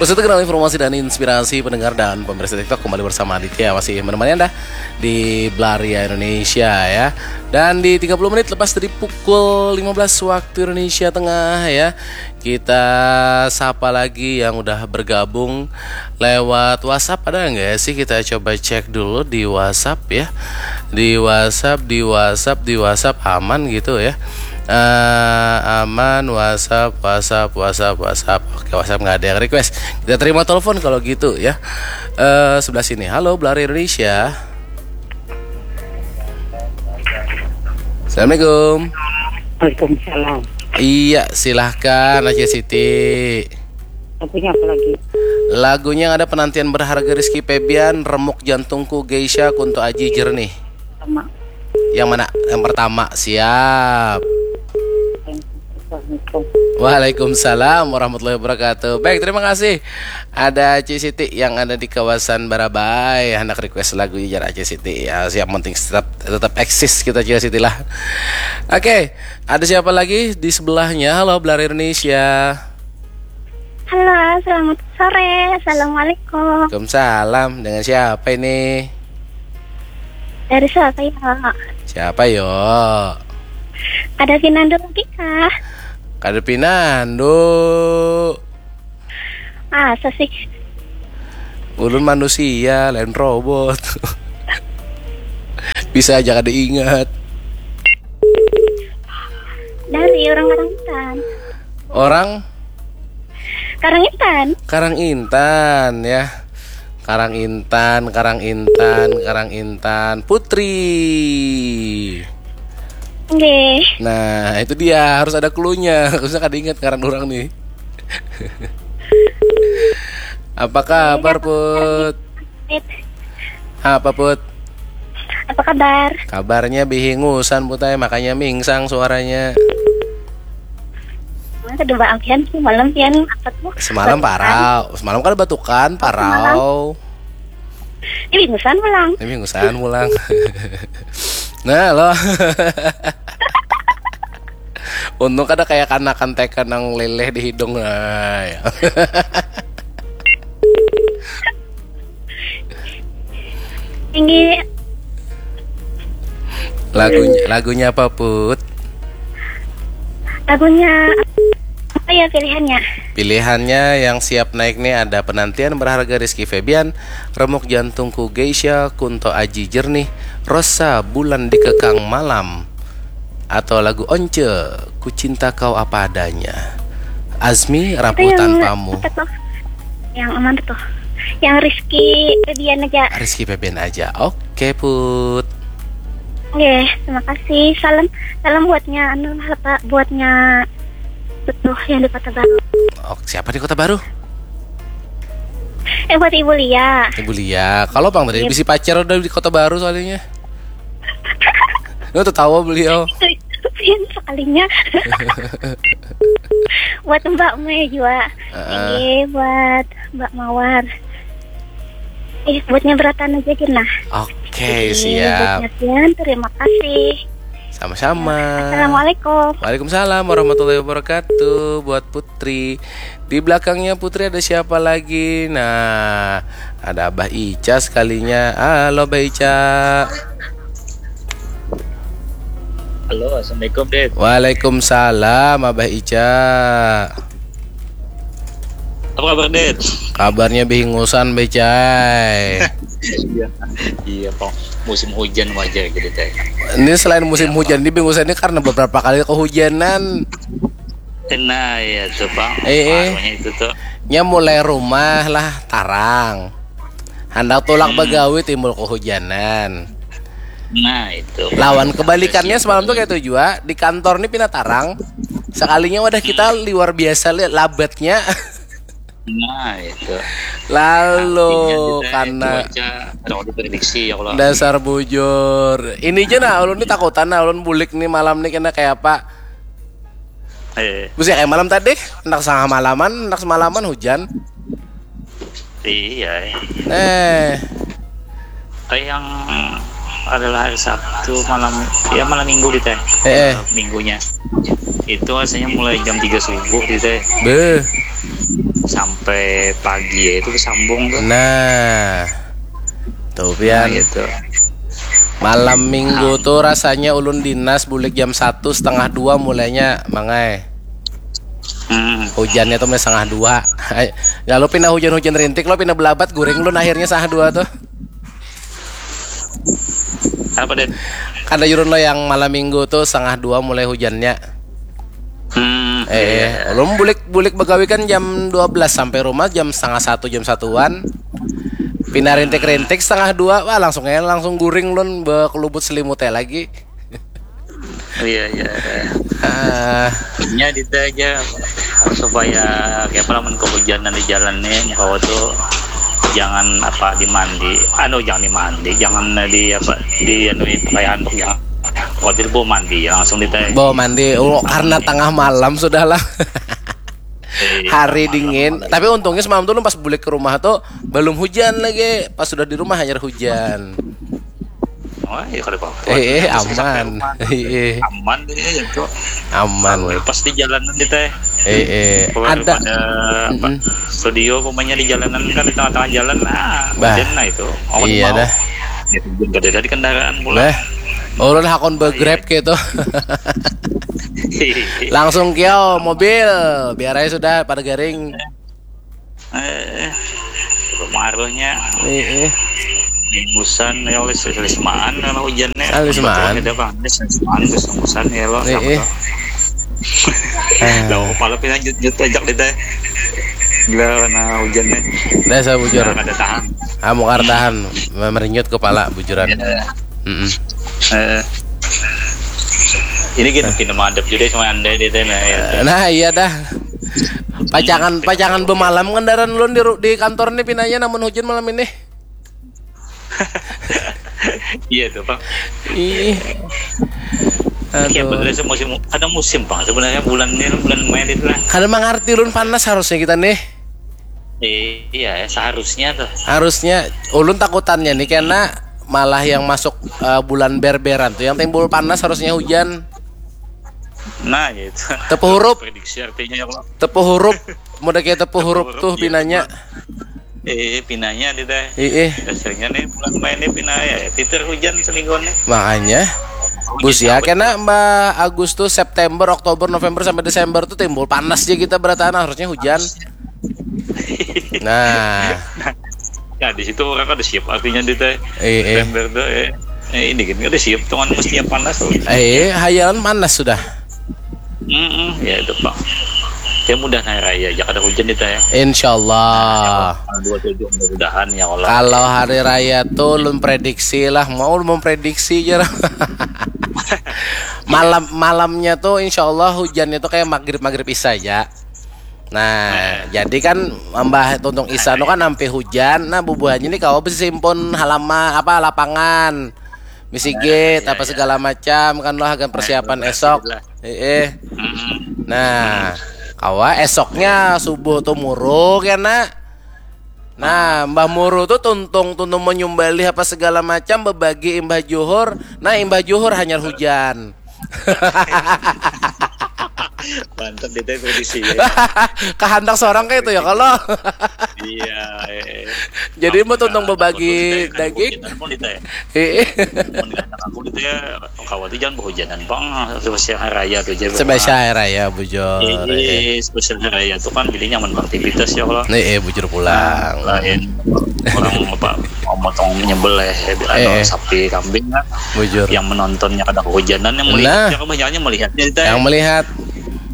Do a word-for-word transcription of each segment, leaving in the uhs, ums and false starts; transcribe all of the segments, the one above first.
Peserta kenal informasi dan inspirasi pendengar dan pemirsa TikTok, kembali bersama Aditya, masih menemani Anda di Belaria Indonesia, ya. Dan di tiga puluh menit lepas dari pukul lima belas waktu Indonesia Tengah, ya, kita sapa lagi yang udah bergabung lewat WhatsApp. Ada nggak sih? Kita coba cek dulu di WhatsApp, ya. Di WhatsApp, di WhatsApp, di WhatsApp aman gitu, ya. Eh, aman, WhatsApp, WhatsApp, WhatsApp, WhatsApp. Oke, WhatsApp nggak ada yang request. Kita terima telepon kalau gitu, ya. Eh, sebelah sini. Halo, Belaria Indonesia. Assalamualaikum. Waalaikumsalam. Iya, silahkan, Acil Siti. Lagunya apa lagi? Lagunya ada penantian berharga, Rizky Febian, Remuk Jantungku, Geisha, Kunto Aji, Jernih. Sama. Yang mana? Yang pertama, siap. Assalamualaikum. Waalaikumsalam warahmatullahi wabarakatuh. Baik, terima kasih. Ada Ci Siti yang ada di kawasan Barabai, hendak request lagu, jar Ci Siti. Ya, siap, penting tetap tetap eksis kita, Ci Siti lah. Oke, ada siapa lagi di sebelahnya? Halo, Belaria Indonesia. Halo, selamat sore. Assalamualaikum. Waalaikumsalam. Dengan siapa ini? Dari siapa ya? Siapa yo? Ada Pinando lagi kah? Kada pinando. Masa sih? Ulun manusia, lain robot. Bisa aja kada ingat. Dari orang Karangintan. Orang Karangintan. Karangintan, ya. Karangintan, Karangintan, Karangintan. Putri. Nggih. Nah, itu dia, harus ada clue-nya. Harusnya kada ingat ngaran orang nih. Apa kabar, Put? Apa, Put? Apa kabar? Kabarnya bihingusan, Put ai, makanya mingsang suaranya. Mana kedua ampian sih malam pian apa tuh? Semalam Batukan. Parau, semalam kan batukan, Parau. Ini bingusan pulang. Ini bingusan pulang. Nah, lo. Untung kada kayak kanakan teka nang leleh di hidung. Nah, ya. Ini Lagunya lagunya apa, Put? Lagunya apa ya pilihannya? Pilihannya yang siap naik nih ada Penantian Berharga, Rizky Febian, Remuk Jantungku, Geisha, Kunto Aji, Jernih, Rosa, Bulan Dikekang Malam, atau lagu Once, Ku Cinta Kau Apa Adanya. Azmi, Rapuh Itu yang Tanpamu. Apa tuh? Yang aman tuh. Yang Rizky Febian aja. Rizky Febian aja. Oke, Put. Oke, terima kasih. Salam salam buatnya anu apa buatnya tuh yang di Kota Baru. Oh, siapa di Kota Baru? Eh buat Ibu Lia. Ibu Lia. Kalau Bang tadi Iya. Bisi pacar udah di Kota Baru soalnya. Lu tuh tahu beliau. Itu itu pian sekalinya. Buat Mbak Mei juga. Heeh. Iya, buat Mbak Mawar. Eh, buatnya beratan aja gini nah. Oke, Iya, siap. Buatnya pian, terima kasih. Sama-sama. Assalamualaikum. Waalaikumsalam warahmatullahi wabarakatuh. Buat Putri. Di belakangnya Putri ada siapa lagi? Nah, ada Abah Ica sekalinya. Halo, Abah Ica. Halo, assalamualaikum, Dit. Waalaikumsalam, Abah Ica. Apa kabar, Dit? Kabarnya bihingusan, Abah Ica. Iya, iya, Pong. Musim hujan wajar gitu, Teh. Ini selain musim hujan, ini bihingusan ini karena beberapa kali kehujanan. Nah, iya tuh, Pong. Eh, eh. Makanya itu tuh. Nya mulai rumah lah tarang. Handak tulak Hmm. bagawi timbul kehujanan. Nah, itu. Lawan kebalikannya Iya, semalam tuh iya. Kayak itu juga, di kantor nih pina tarang. Sekalinya wadah kita luar biasa li- labatnya. Nah, itu. Lalu Artinya kita karena cuaca terlalu diprediksi ya kalau. Dasar bujur. Ini aja nah, ulun nih takutan nah, ulun bulik nih malam nih kena kayak apa. Eh, Busia kayak malam tadi, hendak setengah malaman, hendak semalaman hujan. iya. Eh, Kayak yang adalah hari Sabtu malam, ya malam minggu di Teh. Eh, eh. Minggunya. Itu rasanya mulai jam tiga subuh di Teh. Beuh. sampai pagi ya itu bersambung tuh. Nah, tuh pian. Nah, gitu. Malam minggu tuh rasanya ulun dinas bulik jam satu setengah dua mulainya, Mang ai. Hmm. Hujannya tuh mulai setengah dua. Lalu pindah hujan-hujan rintik, lo pindah belabat guring lun akhirnya setengah dua tuh. Apa, Den? Kada jurun lo yang malam minggu tuh setengah dua mulai hujannya. Hmm, Eh, ulun bulik bulik begawi kan jam dua belas sampai rumah jam setengah satu, jam satuan. Pindah rintik-rintik setengah dua, wah langsung aja langsung guring lun bekelubut selimutnya lagi. Iya, iya. Ah, Nya dita aja supaya kayak apa lamun kehujanan di jalan nih, kawa tuh jangan apa dimandi, anu jangan dimandi, jangan di apa di anu pakaian tuh jangan. Kalau tidak bawa mandi ya langsung dita. Bawa mandi, oh, karena tengah malam sudahlah. Hari dingin. Tapi untungnya semalam tuh pas bulik ke rumah tuh belum hujan lagi. Pas sudah di rumah hanyar hujan. Oh, ya kalau apa. Eh, eh, aman. Eh, eh. Aman deh ya tuh. Aman. Pas di jalanan dita. Eh, eh. Keluar Ada. Pada apa, Mm-mm. Studio pokoknya di jalanan kan di tengah-tengah jalan, nah, Bah. Hujan nah itu. Aku Iya mau. Dah. Ya, hujan kada ada di kendaraan pula. Bah. Ulun hakon begrab gitu. Langsung kiau mobil, biar aja sudah pada garing. Eh, pengaruhnya Eh, eh. Busan ya oleh selismaan kalau hujannya. Ah, selismaan. Ada bang, ada selismaan terus busan ya lo. Eh, eh. Lo kepala pindah jut jut aja kita. Gila karena hujannya. Dasar bujur. Nah, kada tahan. Amu kada tahan, merinyut kepala bujuran. Ya. Mm-mm. Eh, ini gini, gini menghadap juga sama anda di sana ya. Nah, iya dah. Pacangan pacangan bemalam kendaraan ulun di ru- di kantor nih pinanya namun hujan malam ini. Iya tuh bang. Ih. Iya Aduh. Betul sih musim, ada musim bang sebenarnya bulan ini bulan Mei itu lah. Kada mengerti ulun panas harusnya kita nih. Iya seharusnya tuh. Harusnya ulun takutannya nih karena malah yang masuk eh, bulan berberan tuh yang timbul panas harusnya hujan. Nah gitu. Tepuk huruf, Prediksi artinya ya kalau tepuk huruf. Mudah kayak tepuk huruf tuh iya, pinanya. Eh pinanya di teh. Ih, Dasarnya nih bulan Mei ini pinanya ya. Titir hujan seminggu nih. Makanya Busia kena Mbak Agustus, September, Oktober, November sampai Desember tuh timbul panas aja kita berataan harusnya hujan. Nah, Nah di situ orang kan ada siap artinya di teh. eh, eh, September tuh eh. Eh, ini kan ada siap tuh kan mestinya panas tuh. eh, hayalan panas sudah. Mm-mm, ya itu pak. Ya mudah hari raya aja kada hujan di teh. Insya Allah. Tanggal dua tujuh mudah-mudahan ya Allah. Kalau hari raya tuh ulun prediksi lah, mau ulun memprediksi aja lah. Malam malamnya tuh insya Allah hujannya tuh kayak maghrib maghrib isya aja. Nah, jadi kan mbah tuntung isya nu kan sampai hujan, nah bubuhannya nih kawa besimpun halaman apa lapangan, misigit apa segala macam kan lo hagan persiapan esok. Eh, Mm-mm. nah, kawa esoknya subuh tuh muru kena. Nah, Mbah Muru tuh tuntung tuntung menyumbalih apa segala macam bebagi imbah juhur. Nah, imbah juhur hanyar hujan. Mantap di teh kondisi ya. Kahandak seorang kayak itu ya kalau. Iya. Eh. Jadi mau tuntung bebagi daging. Aku di teh. Eh, Aku di teh. Kawati jangan berhujanan bang. Spesial hari raya tuh aja. Spesial hari raya bujur. Ini spesial hari raya tuh kan jadi nyaman beraktivitas ya kalau. Nih, eh bujur pulang. Lain orang apa mau motong nyembelih eh, Eh. sapi kambing kan. Bujur. Yang menontonnya kada kehujanan yang melihat Nah. Ya, kebanyakannya melihatnya di teh. Yang melihat.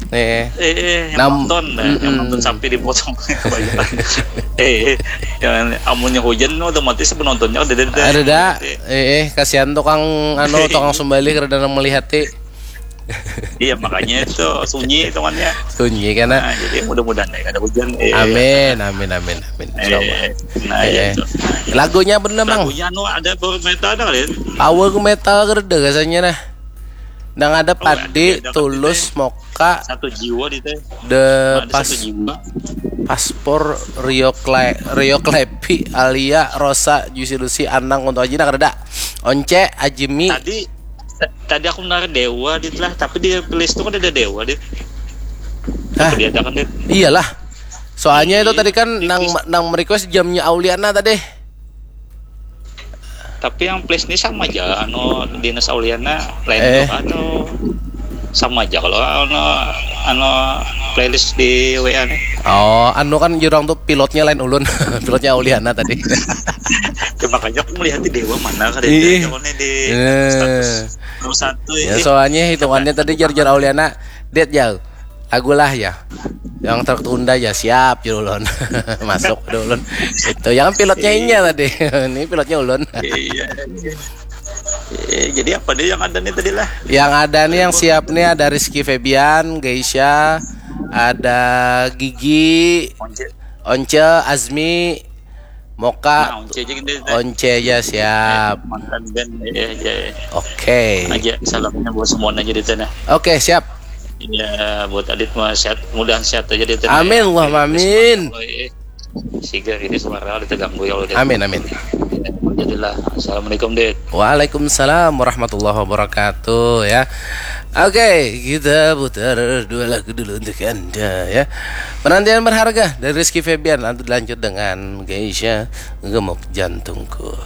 Nih. Eh, eh, yang Nam- nonton, eh, yang Mm-mm. nonton sapi dipotong. eh, eh, yang amunnya hujan otomatis penontonnya udah ada. Ada dah. Eh, eh, kasihan tukang anu tukang sumbalih kada nang melihati. Iya makanya itu sunyi hitungannya. Sunyi kena. Nah, jadi mudah-mudahan ya kada hujan. Eh, Amin, amin, amin, amin. Insyaallah. Eh, nah, Eh, ya eh. itu. Lagunya bener bang. Lagunya anu ada power metal ada kali. Power metal keren deh rasanya nah. Nang ada padi, ada tulus, moka, Satu jiwa di teh. the Ada pas satu jiwa. paspor Rio Kle Rio Klepi, Alia, Rosa, Juicy Lucy, Anang, Kunto Aji, nah kada ada. Once, Ajemi. Tadi tadi aku menarik Dewa dit lah, tapi di playlist itu kan ada Dewa dit. Hah? Dia ada kan dit. Iyalah. Soalnya itu Iya, tadi kan itu nang sih. Nang merequest jamnya Auliana tadi. Tapi yang playlist ini sama aja, anu, Dinas Auliana lain Eh. tuh atau sama aja kalau anu, anu playlist di W A nih. Oh, anu kan jurang tuh pilotnya lain ulun. Pilotnya Auliana tadi. Ya, makanya aku melihat di Dewa mana kada Ih. ada nih di Eh. status nomor satu Ya ini. soalnya hitungannya tadi jar-jar Auliana, "Det, jauh. Lagu lah ya. Yang tertunda ya siap ya ulun." Masuk deh ulun. Itu yang pilotnya inya tadi. Ini pilotnya ulun. Iya. Eh, jadi apa nih yang ada nih tadi lah? Yang ada nih, yang siap nih, ada Rizky Febian, Geisha, ada Gigi, Once, Once, Azmi, nah, Moka, Once aja gini. Once aja siap. Mantan band ya, ya. Oke. Aja salamnya buat semua aja di sana. Oke, siap. Ya, buat Adit mah sehat, mudahan sehat aja di sana. Amin, Allahumma amin. Siga ini suara ada terganggu ya Allah. Amin, amin. Jadilah. Assalamualaikum, Dit. Waalaikumsalam warahmatullahi wabarakatuh ya. Oke, kita putar dua lagu dulu untuk Anda ya. Penantian berharga dari Rizky Febian, nanti lanjut dengan Geisha, Gemuk Jantungku.